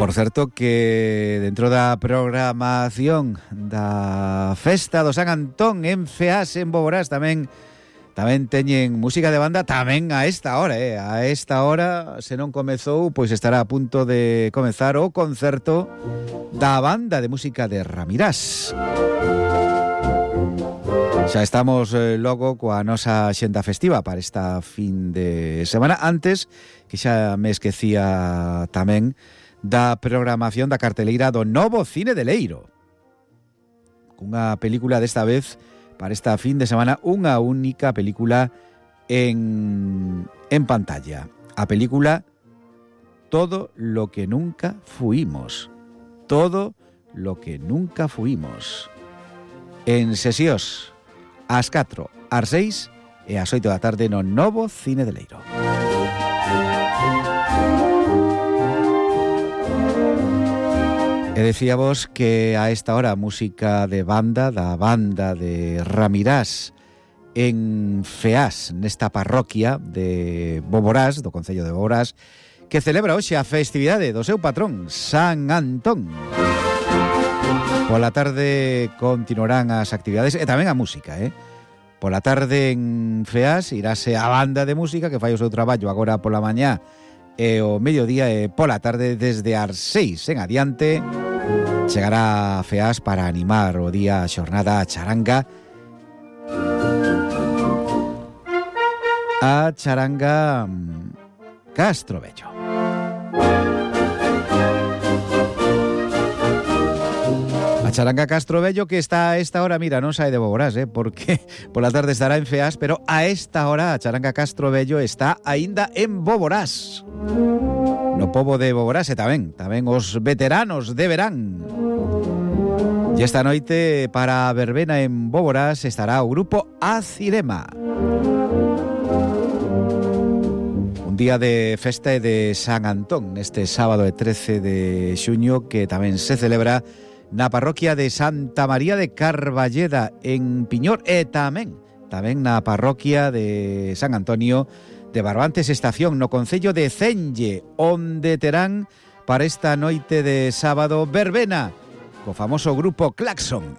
Por certo que dentro da programación da Festa do San Antón en Feás, en Boborás, tamén teñen música de banda tamén a esta hora, A esta hora, se non comezou, pois estará a punto de comezar o concerto da banda de música de Ramirás. Xa estamos logo coa nosa xenda festiva para esta fin de semana. Antes, que xa me esquecía tamén da programación da carteleira do Novo Cine de Leiro. Cunha película desta vez para esta fin de semana, unha única película en pantalla. A película Todo lo que nunca fuimos. Todo lo que nunca fuimos. En sesións ás 4, ás 6 e ás 8 da tarde no Novo Cine de Leiro. E decíamos que a esta hora música de banda, da banda de Ramirás en Feás, nesta parroquia de Boborás, do concello de Boborás, que celebra hoxe a festividade do seu patrón, San Antón. Pola tarde continuarán as actividades e tamén a música, Pola tarde en Feás irase a banda de música que fai o seu traballo agora pola mañá e o mediodía e pola tarde desde as 6 en adiante chegará a Feás para animar o día a xornada a charanga Castrovello. A charanga Castrovello que está a esta hora, mira, non sae de Boborás, porque pola tarde estará en Feás, pero a esta hora a charanga Castrovello está aínda en Boborás. No pobo de Boborás e tamén os veteranos deberán. E esta noite para a verbena en Boborás estará o grupo Acirema. Un día de festa e de San Antón neste sábado de 13 de xuño que tamén se celebra na parroquia de Santa María de Carballeda en Piñor e tamén na parroquia de San Antonio de Barbantes Estación no concello de Cenlle, onde terán para esta noite de sábado verbena co famoso grupo Claxon.